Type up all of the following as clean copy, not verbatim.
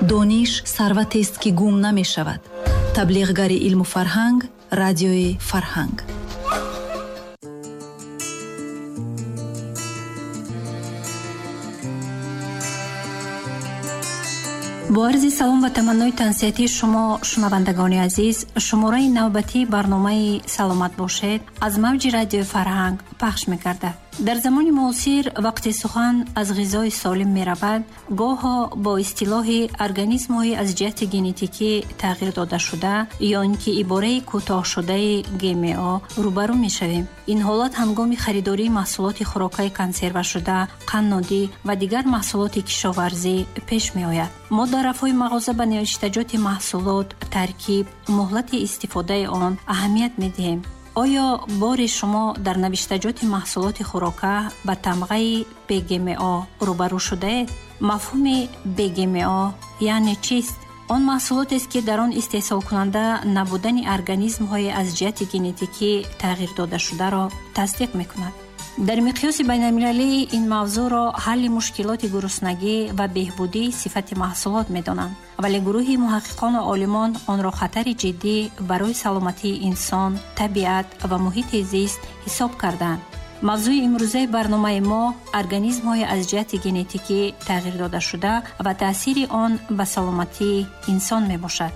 Дониш сарватест, ки гум намешавад. Таблиғгари илму фарҳанг, Радиои Фарҳанг. Бо арзи салом ва таманнои тансиҳатии шумо, шунавандагони азиз, шумораи навбатии барномаи «Саломат бошед» аз мавҷи Радиои Фарҳанг пахш мегардад. Дар замони муосир вақте сухан аз ғизои солим меравад, гоҳо бо истилоҳи организмҳои аз ҷиҳати генетикӣ тағйир додашуда ё ин ки ибораи кӯтоҳшудаи ГМО рӯбарӯ мешавем. Ин ҳолат ҳангоми харидории маҳсулоти хӯрокаи консервашуда, қаннодӣ ва дигар маҳсулоти кишоварзӣ пеш меояд. Мо дар рафҳои мағоза ба навиштаҷоти маҳсулот, таркиб, муҳлати истифодаи он аҳамият медиҳем. Оё бори шумо дар навиштаҷоти маҳсулоти хӯрока ба тамғаи БГМО рӯбарӯ шудаед? Мафҳуми БГМО яъне чист? Он маҳсулотест, ки дар он истеҳсолкунанда набудани организмҳои аз ҷиҳати генетикӣ тағйир додашударо тасдиқ мекунад. Дар миқёси байналмилалӣ ин мавзӯъро ҳалли мушкилоти гуруснагӣ ва беҳбудии сифати маҳсулот медонанд, вале гурӯҳи муҳаққиқону олимон онро хатари ҷиддӣ барои саломатии инсон, табиат ва муҳити зист ҳисоб карданд. Мавзӯи имрӯзаи барномаи мо организмҳои аз ҷиҳати генетикӣ тағйир додашуда ва таъсири он ба саломатии инсон мебошад.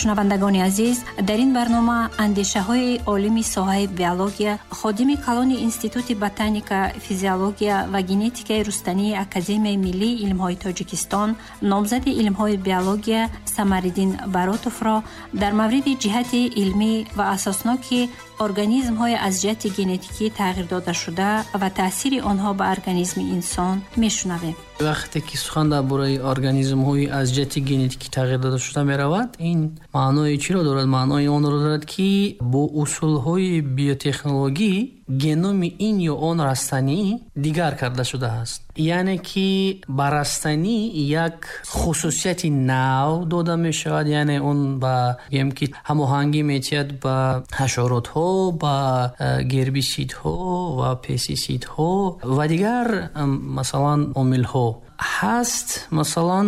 Шунавандагони азиз, дар ин барнома андешаҳои олими соҳаи биология, ходими калони Институти ботаника, физиология ва генетикаи рустании Академияи миллии илмҳои Тоҷикистон, номзади илмҳои биология Самариддин Баротовро дар мавриди ҷиҳати илмӣ ва асосноки организмҳои аз ҷиҳати генетикӣ тағйир додашуда ва таъсири онҳо ба организми инсон мешунавем. Вақте ки сухан дар бораи организмҳои аз ҷиҳати генетикӣ тағйир додашуда меравад, ин маънои чиро дорад? Маънои онро дорад, ки бо усулҳои биотехнологӣ геноми ин ё он растанӣ дигар карда шудааст. Яъне ки ба растанӣ як хусусияти нав дода мешавад, яъне он ба гӯем ки ҳамоҳангӣ метиҳад ба ҳашаротҳо, ба гербисидҳо ва пестисидҳо ва дигар масалан омилҳо. Ҳаст масалан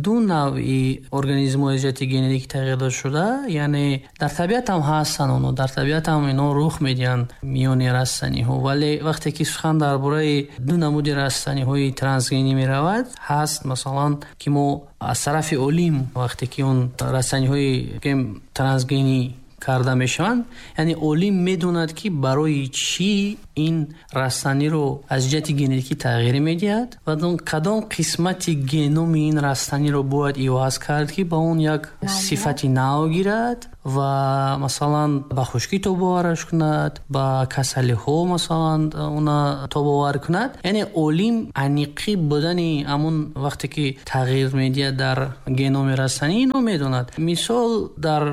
ду навъи организмҳои ҷиҳати генетикӣ тағйир додашуда, яъне дар табиат ҳам ҳастанд онҳо, дар табиат ҳам инҳо рух медиҳанд миёни растаниҳо, вале вақте ки сухан дар бораи ду намуди растаниҳои трансгенӣ меравад, ҳаст масалан ки мо аз тарафи олим вақте ки он растаниҳои трансгенӣ карда мешаванд, яъне олим медонад, ки барои чӣ ин растаниро аз ҷиҳати генетикӣ тағйир медиҳад ва кадом қисмати геноми ин растаниро бояд иваз кард, ки ба он як сифати нав гирад ва масалан ба хушкӣ тобовараш кунад, ба касалиҳо масалан она тобовар кунад. Яъне олим аниқӣ будани ҳамон вақте ки тағйир медиҳад дар геноми растанӣ инро медонад. Мисол, дар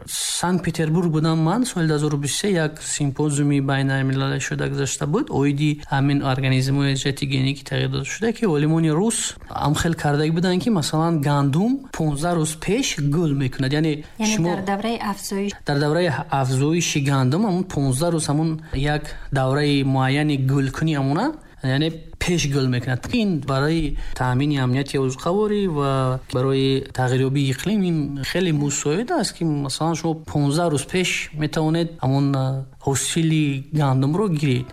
Санкт Петербург будам ман соли 2023, як симпозиуми байналмилалӣ шуда гузашта буд оиди ҳамин организмҳои ҷиҳати генетикӣ тағйир дода шуда, ки олимони рус ҳамхел кардагӣ буданд, ки масалан гандум 15 рӯз пеш гул мекунад. Яъне шумо дар давраи афзоиш, дар давраи афзоиши гандум ҳамон 15 рӯз ҳамон як давраи муайяни гулкунӣ ҳамона, яъне пеш гул мекунад. Ин барои таъмини амнияти озуқаворӣ ва барои тағйирёбии иқлим ин хеле мусоид аст, ки масалан шумо 15 рӯз пеш метавонед ҳамон ҳосили гандумро гиред.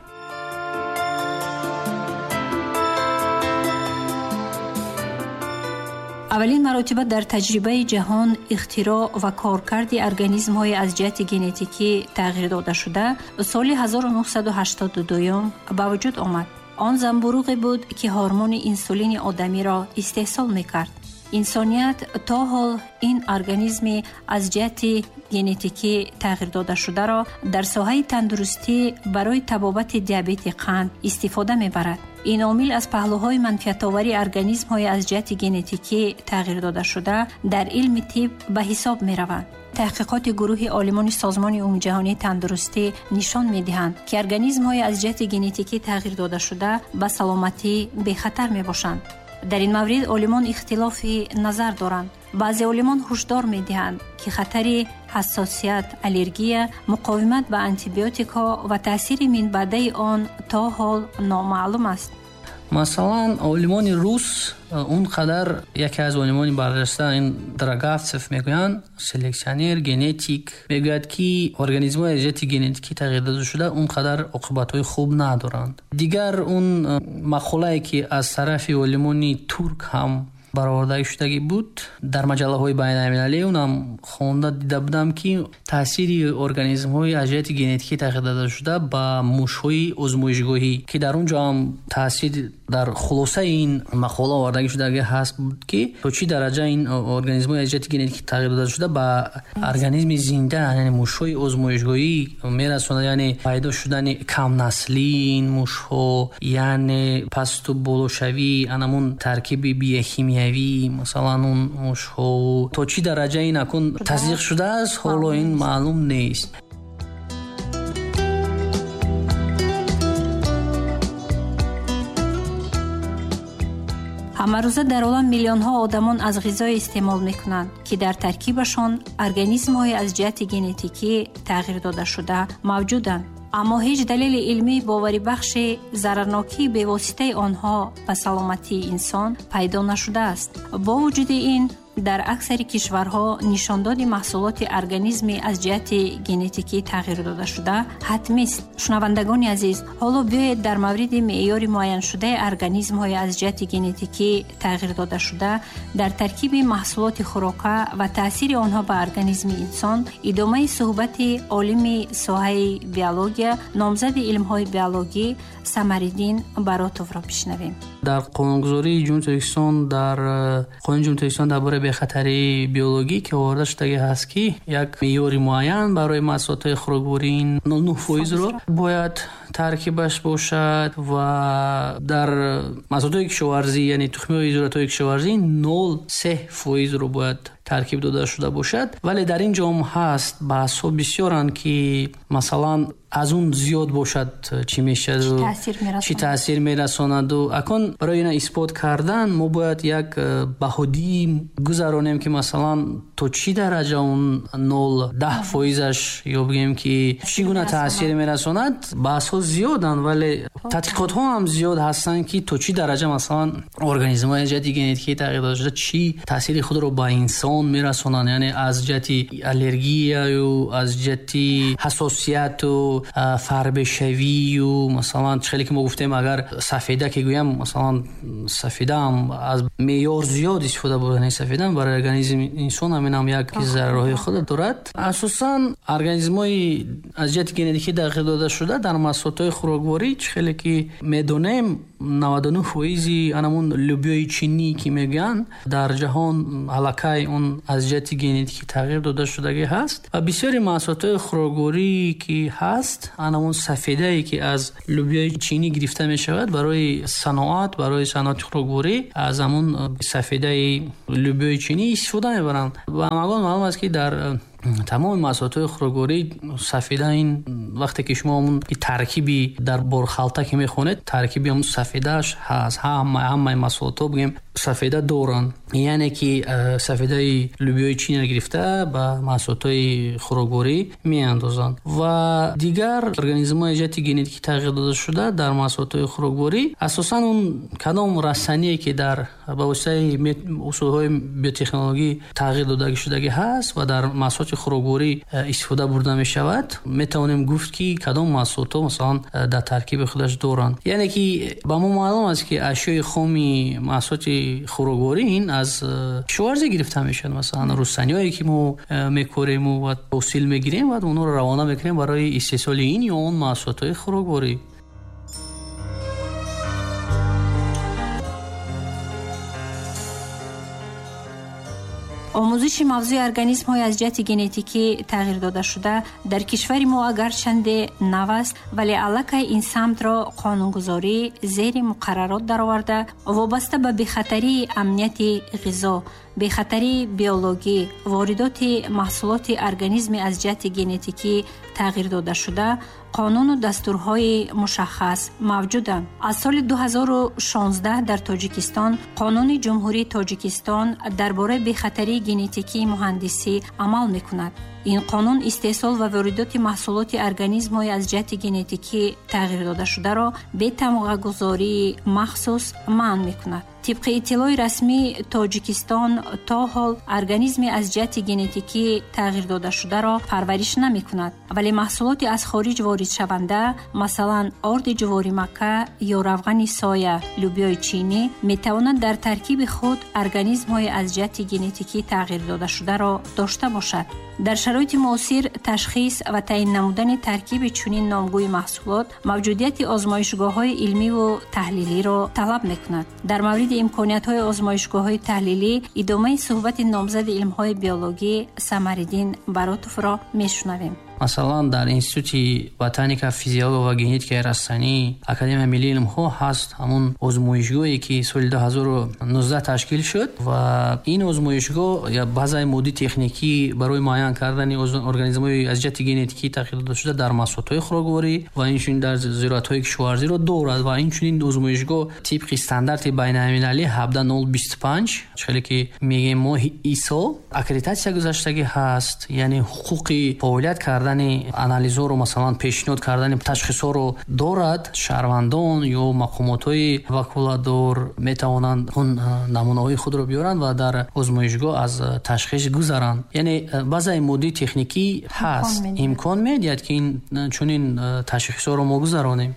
Аввалин маротиба дар таҷрибаи ҷаҳон ихтироъ ва коркарди организмҳои аз ҷиҳати генетикӣ тағйир додашуда соли 1982 ба вуҷуд омад. Он замбуруғе буд, ки ҳормони инсулини одамиро истеҳсол мекард. Инсоният то ҳол ин организми аз ҷиҳати генетикӣ тағйир додашударо дар соҳаи тандурустӣ барои табобати диабети қанд истифода мебарад. Ин омил аз паҳлӯҳои манфиатовари организмҳои аз ҷиҳати генетикӣ тағйир додашуда дар илми тиб ба ҳисоб мераванд. Таҳқиқоти гурӯҳи олимони Созмони Умумиҷаҳонии тандурустӣ нишон медиҳанд, ки организмҳои аз ҷиҳати генетикӣ тағйир додашуда ба саломатӣ бехатар мебошанд. Дар ин маврид олимон ихтилофи назар доранд. Баъзе олимон ҳушдор медиҳанд, ки хатари ҳассосият, аллергия, муқовимат ба антибиотикҳо ва таъсири минбаъдаи он то ҳол номаълум аст. Масалан, олимони рус он қадар, яке аз олимони барҷаста ин Драгавцев мегӯянд, селексионер, генетик, мегӯяд, ки организмҳои аз ҷиҳати генетикӣ тағйир дода шуда он қадар оқибатҳои хуб надоранд. Дигар он мақолае, ки аз тарафи олимони турк ҳам бароварда шудагӣ буд дар маҷаллаҳои байналмилалӣ, онам хонда дида будам, ки таъсири организмҳои аз ҷиҳати генетикӣ тағйир дода шуда ба мушҳои озмоишгоҳӣ, ки дар он ҷо ҳам таъсир дар хулосаи ин мақола овардагӣ шудагӣ ҳаст буд, ки то чӣ дараҷа ин организмҳои аз ҷиҳати генетикӣ тағйир дода шуда ба организми зинда, яъне мушҳои озмоишгоҳӣ мерасонад, яъне пайдо шудани камнаслии ин мушҳо, яъне пасту болошавии анамун таркиби биохимиявӣ масалан он мушҳо, то чӣ дараҷа ин акун тасдиқ шудааст, ҳоло ин маълум нест. Ҳамарӯза дар олам миллионҳо одамон аз ғизое истеъмол мекунанд, ки дар таркибашон организмҳои аз ҷиҳати генетикӣ тағйир додашуда мавҷуданд. Аммо ҳеҷ далели илмии боварибахши зарарнокии бевоситаи онҳо ба саломатии инсон пайдо нашудааст. Бо вуҷуди ин, дар аксари кишварҳо нишондоди маҳсулоти организми аз ҷиҳати генетикӣ тағйир додашуда ҳатмист. Шунавандагони азиз, ҳоло биёед дар мавриди меъёри муайяншудаи организмҳои аз ҷиҳати генетикӣ тағйир додашуда дар таркиби маҳсулоти хӯрока ва таъсири онҳо ба организми инсон идомаи суҳбати олими соҳаи биология, номзади илмҳои биологӣ Самариддин Баротовро бишнавем. Дар қонунгузории Ҷумҳурии Тоҷикистон, дар қонуни Ҷумҳурии Тоҷикистон дар бораи бехатарии биологӣ ки оварда шудагӣ ҳаст, ки як меъёри муайян барои маҳсулотҳои хӯрокворӣ 0,9% бояд таркибаш бошад ва дар маҳсулотҳои кишоварзӣ, яъне тухмиҳои зироатҳои кишоварзӣ 0,3% бояд таркиб дода шуда бошад. Вале дар ин ҷо ҳам ҳаст баҳсҳо бисёранд, ки масалан аз он зиёд бошад чӣ мешавад, чӣ таъсир мерасонад. Акун барои ина исбот кардан мо бояд як баҳодӣ гузаронем, ки масалан то чӣ дараҷа он 0,10%-аш ё бигем ки чӣ гуна таъсир мерасонад. Баҳсҳо зиёданд, вале тадқиқотҳо ҳам зиёд ҳастанд, ки то чӣ дараҷа масалан организмҳои аз ҷиҳати генетикӣ тағйир дода шуда чӣ таъсири худро ба инсон мерасонанд, яъне аз ҷиҳати аллергияю аз ҷиҳати ҳассосияту фарбешавию масалан хеле ки мо гуфтем, агар сафеда ки гӯям, масалан сафеда ҳам аз меъёр зиёд истифода бурдани сафеда барои организми инсон ҳамин ҳам як зарарҳои худро дорад. Асосан организмҳои аз ҷиҳати генетикӣ тағйир дода шуда дар маҳсулотҳои хӯрокворӣ, чӣ хеле ки медонем, 99% анамун лӯбиёи чинӣ ки мегӯянд дар ҷаҳон аллакай он аз ҷиҳати генетикӣ тағйир дода шудагӣ ҳаст ва бисёри маҳсулотҳои хӯрокворӣ ки ҳаст, анамун сафедае ки аз лӯбиёи чинӣ гирифта мешавад барои саноат, барои саноати хӯрокворӣ аз ҳамун сафедаи лӯбиёи чинӣ истифода мебаранд. Ва ҳамагон маълум аст, ки дар тамоми маҳсулотҳои хӯрокворӣ сафеда ин вақте ки шумо ҳамун таркиби дар борхалта ки мехонед, таркиби ҳамун сафедааш ҳаст. Ҳамаи маҳсулотҳо бигем сафеда доранд, яъне ки сафедаи лӯбиёи чинро гирифта ба маҳсулотҳои хӯрокворӣ меандозанд. Ва дигар организмҳои ҷиҳати генетикӣ тағйир дода шуда дар маҳсулотҳои хӯрокворӣ асосан он кадом растание ки дар ба воситаи усулҳои биотехнологӣ тағйир дода шудагӣ ҳаст ва дар маҳсулоти хӯрокворӣ истифода бурда мешавад, метавонем гуфт, ки кадом маҳсулотҳо масалан дар таркиби худаш доранд. Яъне ки ба мо маълум аст, ки ашёи хоми маҳсулоти хӯрокворӣ ин аз кишоварзӣ гирифта мешавад. Масалан рустаниҳое ки мо мекорему ва ҳосил мегирем ва онҳоро равона мекунем барои истеҳсоли ин ё он маҳсулотҳои хӯрокворӣ. Омӯзиши мавзӯи организмҳои аз ҷиҳати генетикӣ тағйир додашуда дар кишвари мо агарчанде нав аст, вале аллакай ин самтро қонунгузорӣ зери муқаррарот дароварда, вобаста ба бехатарии амнияти ғизо, бехатарии биологӣ, воридоти маҳсулоти организми аз ҷиҳати генетикӣ тағйир додашуда қонуну дастурҳои мушаххас мавҷуданд. Аз соли 2016 дар Тоҷикистон Қонуни Ҷумҳурии Тоҷикистон дар бораи бехатарии генетикии муҳандисӣ амал мекунад. Ин қонун истеҳсол ва воридоти маҳсулоти организмҳои аз ҷиҳати генетикӣ тағйир додашударо бе тамғагузории махсус манъ мекунад. Тибқи иттилои расмӣ, Тоҷикистон то ҳол организми аз ҷиҳати генетикӣ тағйир додашударо парвариш намекунад, вале маҳсулоти аз хориҷ воридшаванда, масалан орди ҷуворимакка ё равғани соя, лӯбиёи чинӣ, метавонад дар таркиби худ организмҳои аз ҷиҳати генетикӣ тағйир додашударо дошта бошад. Дар шароити муосир ташхис ва таъин намудани таркиби чунин номгӯи маҳсулот мавҷудияти озмоишгоҳҳои илмиву таҳлилиро талаб мекунад. Дар мавриди имкониятҳои озмоишгоҳҳои таҳлилӣ идомаи суҳбати номзади илмҳои биологӣ Самариддин Баротовро мешунавем. Масалан, дар Институти ботаника, физиология ва генетикаи растанӣ Академияи миллии илмҳо ҳаст ҳамун озмоишгоҳе, ки соли 2019 ташкил шуд ва ин озмоишгоҳ я базаи моддии техникӣ барои муайян кардани организмҳои аз ҷиҳати генетикӣ тағйир додашуда дар маҳсулотҳои хӯрокворӣ ва инчунин дар зироатҳои кишоварзиро дорад ва инчунин озмоишгоҳ тибқи стандарти байналмилалӣ 17025, хеле ки мегӯем мо ISO, аккредитатсия гузаштагӣ ҳаст, яъне ҳуқуқи фаъолият кардан анализҳоро, масалан пешниҳод кардани ташхисҳоро дорад. Шаҳрвандон ё мақомотҳои ваколатдор метавонанд он намунаҳои худро биёранд ва дар озмоишгоҳ аз ташхис гузаранд. Яъне базаи моддии техникӣ ҳаст, имкон медиҳад, ки чунин ташхисҳоро мо гузаронем.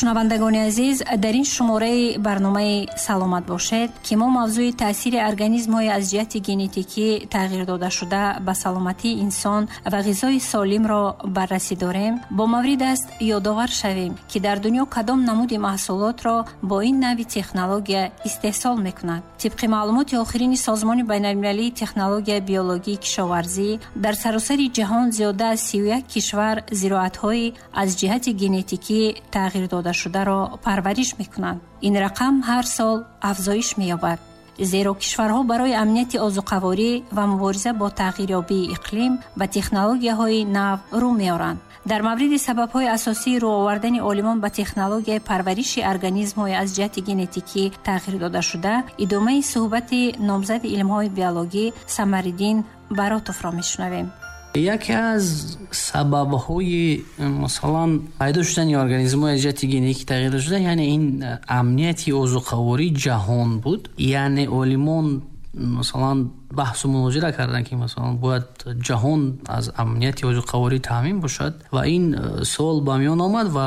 Шунавандагони азиз, дар ин шумораи барномаи «Саломат бошед», ки мо мавзӯи таъсири организмҳои аз ҷиҳати генетикӣ тағйир додашуда ба саломатии инсон ва ғизои солимро баррасӣ дорем, бо маврид аст ёдовар шавем, ки дар дунё кадом намуди маҳсулотро бо ин нави технология истеҳсол мекунад. Тибқи маълумоти охирини Созмони байналмилалии технологияи биологии кишоварзӣ, дар саросари ҷаҳон зиёда аз 31 кишвар зироатҳои аз ҷиҳати генетикӣ тағйир додашударо парвариш мекунанд. Ин рақам ҳар сол афзоиш меёбад, зеро кишварҳо барои амнияти озуқаворӣ ва мубориза бо тағйирёбии иқлим ба технологияҳои нав рӯ меоранд. Дар мавриди сабабҳои асосии рӯ овардани олимон ба технологияи парвариши организмҳои аз ҷиҳати генетикӣ тағйир додашуда идомаи суҳбати номзади илмҳои биологӣ Самариддин Баротовро мешунавем. Яке аз сабабҳои масалан пайдо шудани организмҳои аз ҷиҳати генетикӣ тағйир додашуда, яъне ин амнияти озуқавории ҷаҳон буд. Яъне олимон масалан баҳсу мунозира карданд, ки масалан бояд ҷаҳон аз амнияти озуқаворӣ таъмин бошад ва ин суол ба миён омад ва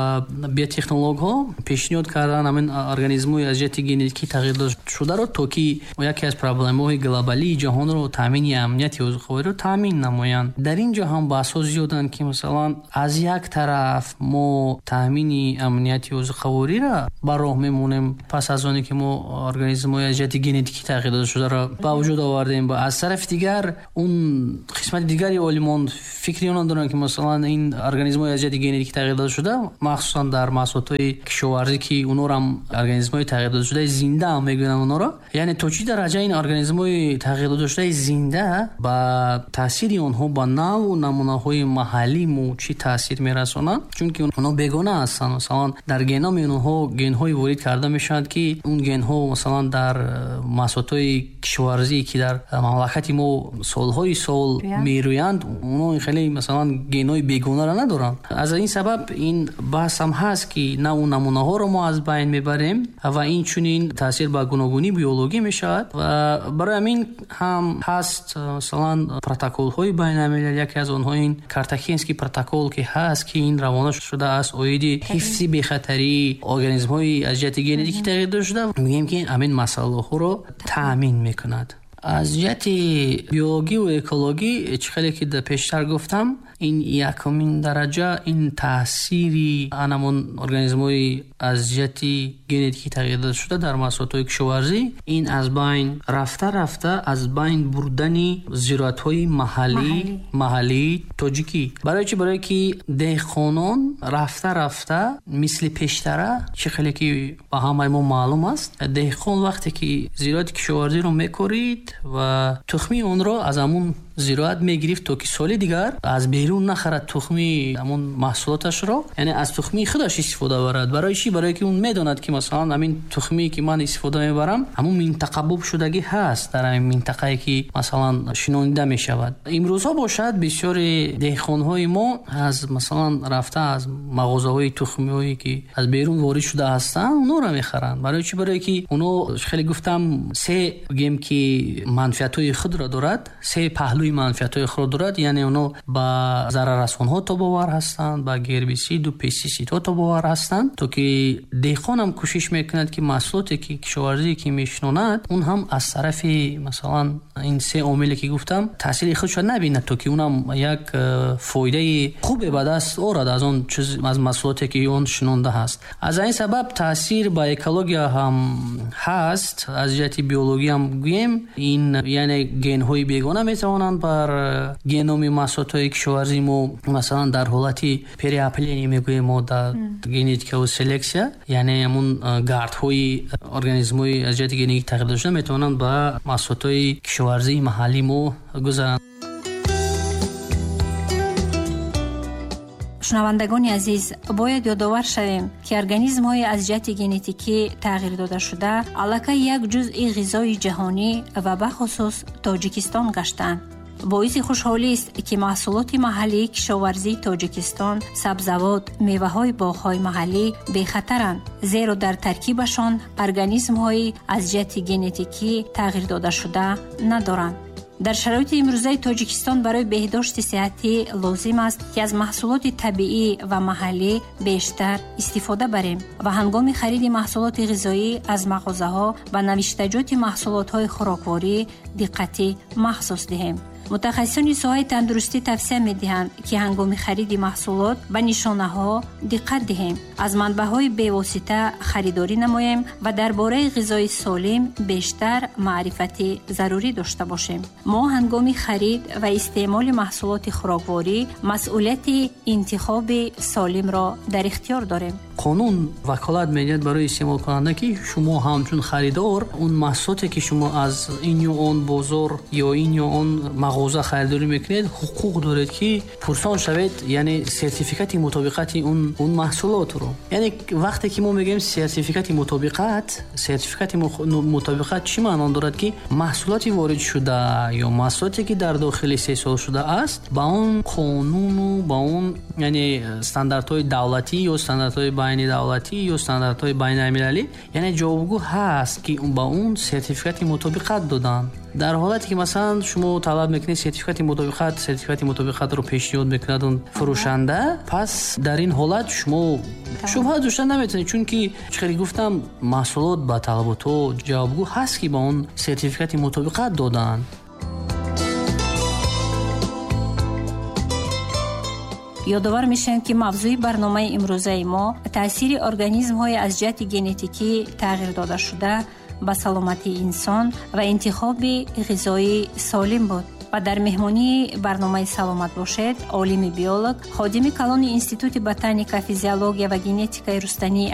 биотехнологҳо пешниҳод карданд ҳамин организмҳои аз ҷиҳати генетикӣ тағйир додашударо, то ки яке аз проблемаҳои глобалии ҷаҳонро таъмини амнияти озуқавориро таъмин намоянд. Дар ин ҷо ҳам баҳсҳо зиёданд, ки масалан аз як тараф мо таъмини амнияти озуқавориро ба роҳ мемонем пас аз оне ки мо организмҳои аз ҷиҳати генетикӣ тағйир додашударо ба вуҷуд овардем, аз тарафи дигар он қисмати дигари олимон фикри онон доранд, ки масалан ин организмҳои аз ҷиҳати генетикӣ тағйир додашуда, махсусан дар маҳсулотҳои кишоварзӣ, ки онҳоро ҳам организмҳои тағйир додашудаи зинда ҳам мегӯянд онҳоро, яъне то чӣ дараҷа ин организмҳои тағйир додашудаи зинда ба таъсири онҳо ба навъу намунаҳои маҳаллӣ мо чӣ таъсир мерасонанд, чунки онҳо бегона ҳастанд. Масалан дар геноми онҳо генҳое ворид карда мешаванд, ки он генҳо масалан дар маҳсулотҳои кишоварзӣ, ки дар мамлакати мо солҳои сол мерӯянд, онҳо хеле масалан генҳои бегонаро надоранд. Аз ин сабаб ин баҳс ҳам ҳаст, ки навъу намунаҳоро мо аз байн мебарем ва инчунин таъсир ба гуногунии биологӣ мешавад. Ва барои ҳамин ҳам ҳаст масалан протоколҳои байналмилалӣ, яке аз онҳо ин Картахенский протокол, ки ҳаст, ки ин равона шудааст оиди ҳифзи бехатарии организмҳои аз ҷиҳати генетикӣ тағйир додашуда, мегӯем ки ҳамин масъалаҳоро таъмин мекунад. Аз ҷиҳати биологӣ ва экологӣ, чӣ хеле ки пештар гуфтам, ин якумин дараҷа ин таъсири анамон организмҳои аз ҷиҳати генетикӣ тағйир додашуда дар маҳсулотҳои кишоварзӣ, ин аз байн рафта рафта аз байн бурдани зироатҳои маҳаллии тоҷикӣ. Барои чӣ? Барое ки деҳқонон рафта рафта мисли пештара, чӣ хеле ки ба ҳамаи мо маълум аст, деҳқон вақте ки зироати кишоварзиро мекорид ва тухмии онро аз ҳамун зироат мегирифт, то ки соли дигар аз берун нахарад тухми ҳамон маҳсулоташро, яъне аз тухмии худаш истифода барад. Барои чӣ? Барои ки он медонад, ки масалан ҳамин тухмие ки ман истифода мебарам, ҳамон минтақа боб шудагӣ ҳаст дар ҳамин минтақае ки масалан шинонида мешавад. Имрӯзҳо бошад, бисёри деҳқонҳои мо аз масалан рафта аз мағозаҳои тухмиҳое ки аз берун ворид шуда ҳастанд, онҳоро мехаранд. Барои чӣ? Барои ки онҳо, хеле гуфтам, се гем ки манфиатҳои худро дорад, се паҳлӯи манфиатҳои худро дорад, яъне онҳо ба зараррасонҳо тобовар ҳастанд, ба гербисиду пестисидҳо тобовар ҳастанд, то ки деҳқон ҳам кӯшиш мекунад, ки маҳсулоте ки кишоварзие ки мешинонад, он ҳам аз тарафи масалан ин се омиле ки гуфтам таъсири худшо набинад, то ки онам як фоидаи хубе ба даст орад аз он чиз, аз маҳсулоте ки он шинонда ҳаст. Аз ин сабаб таъсир ба экология ҳам ҳаст, аз ҷиҳати биологӣ ҳам гӯем, ин яъне генҳои бегона метавонанд бар геноми маҳсулотҳои кишоварзии мо, масалан дар ҳолати переопыление мегӯем мо дар генетикаву селексия, яъне ҳамун гардҳои организмҳои аз ҷиҳати генетикӣ тағйир дода шуда метавонанд ба маҳсулотҳои кишоварзии маҳаллии мо гузаранд. Шунавандагони азиз, бояд ёдовар шавем, ки организмҳои аз ҷиҳати генетикӣ тағйир додашуда аллакай як ҷузъи ғизои ҷаҳонӣ ва бахусус Тоҷикистон гаштанд. Боиси хушҳолист, ки маҳсулоти маҳаллии кишоварзии Тоҷикистон, сабзавот, меваҳои боғҳои маҳаллӣ бехатаранд, зеро дар таркибашон организмҳои аз ҷиҳати генетикӣ тағйир додашуда надоранд. Дар шароити имрӯзаи Тоҷикистон барои беҳдошти сиҳатӣ лозим аст, ки аз маҳсулоти табиӣ ва маҳаллӣ бештар истифода барем ва ҳангоми хариди маҳсулоти ғизоӣ аз мағозаҳо ба навиштаҷоти маҳсулотҳои хӯрокворӣ диққати махсус диҳем. Мутахассисони соҳаи тандурустӣ тавсия медиҳанд, ки ҳангоми хариди маҳсулот ба нишонаҳо диққат диҳем, аз манбаъҳои бевосита харидорӣ намоем ва дар бораи ғизои солим бештар маърифати зарурӣ дошта бошем. Мо ҳангоми харид ва истеъмоли маҳсулоти хӯрокворӣ масъулияти интихоби солимро дар ихтиёр дорем. Қонун ваколат медиҳад барои истеъмолкунанда, ки шумо ҳамчун харидор он маҳсулоте ки шумо аз ин ё он бозор ё ин ё он мағоза харидорӣ мекунед, ҳуқуқ доред, ки пурсон шавед, яъне сертификати мутобиқати он маҳсулотро. Яъне вақте ки мо мегӯем сертификати мутобиқат, сертификати мутобиқат чӣ маъно дорад? Ки маҳсулоти ворид шуда ё маҳсулоте ки дар дохили истеҳсол шуда аст, ба он қонуну ба он яъне стандартҳои давлатӣ ё стандартҳои байнидавлатӣ ё стандартҳои байналмилалӣ, яъне ҷавобгӯ ҳаст, ки ба он сертификати мутобиқат доданд. Дар ҳолате ки масалан шумо талаб мекунед сертификати мутобиқат, сертификати мутобиқатро пешниҳод мекунад он фурӯшанда, пас дар ин ҳолат шумо шубҳа дошта наметавонед, чунки чӣ хеле гуфтам, маҳсулот ба талаботҳо ҷавобгӯ ҳаст, ки ба он сертификати мутобиқат доданд. Ёдовар мешавем, ки мавзӯи барномаи имрӯзаи мо таъсири организмҳои аз ҷиҳати генетикӣ тағйир додашуда ба саломатии инсон ва интихоби ғизои солим буд. Ва дар меҳмонии барномаи «Саломат бошед» олими биолог, ходими калони Институти ботаника, физиология ва генетикаи рустании